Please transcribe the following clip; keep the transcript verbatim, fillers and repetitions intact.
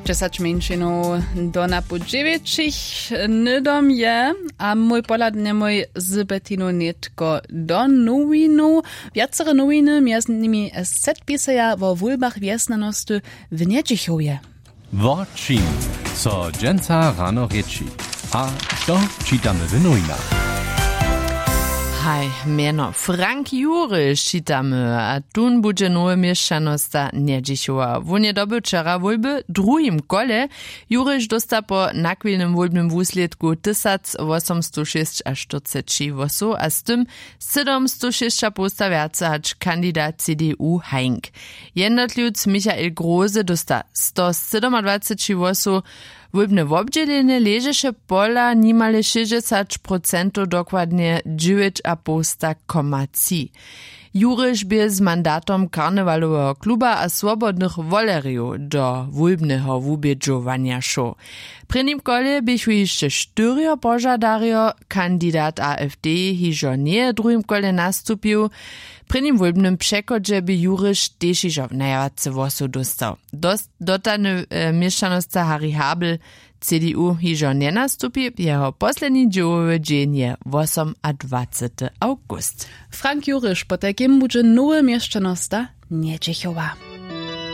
Dźesać mjeńšinow do napoł dźewjećich hnydom je. A mój pohlad njemój z Betinu nětko do nowinow. Wjacere nowiny, mjez nimi set, pisaja wo wólbach wjesnjanosty w Njedźichowje. Wo čim so dźensa rano rěči a što čitamy w nowinach? Haj, mjeno Frank Juriš čitamy, a tón budźe nowy měšćanosta Njedźichowa. Wón je dobył wčera wólby w druhim kole. Juriš dósta po nachwilnym wólbnym wuslědku tysacwosomstošěsćaštyrceći hłosow a z tym sydomstošěsćapołsta wjace hač kandidat C D U Heinck. Jednotliwc Michael Groze dósta stosydomadwaceći hłosow. Wólbne wobdźělenje ležeše pola nimale šěsćdźesać procentow, dokładnje dźewjećapołsta koma tři. Juriš bě z mandatom karnewaloweho kluba a swobodnych wolerjow do wólbneho wubědźowanja šoł. W prěnim kole běchu hišće štyrjo požadarjo. Kandidat A F D hižo njeje w druhim kole nastupił. W prěnim wólbnym přechodźe bě Juriš tež hižo najwjace hłosow dóstał. Dotany měšćanosca Harry Habel, C D U, hižo njenastupi. Jeho posledni dźěłowy dźeń je wosomadwacety awgust. Frank Juriš potajkim budźe nowy měšćanosta Njedźichowa.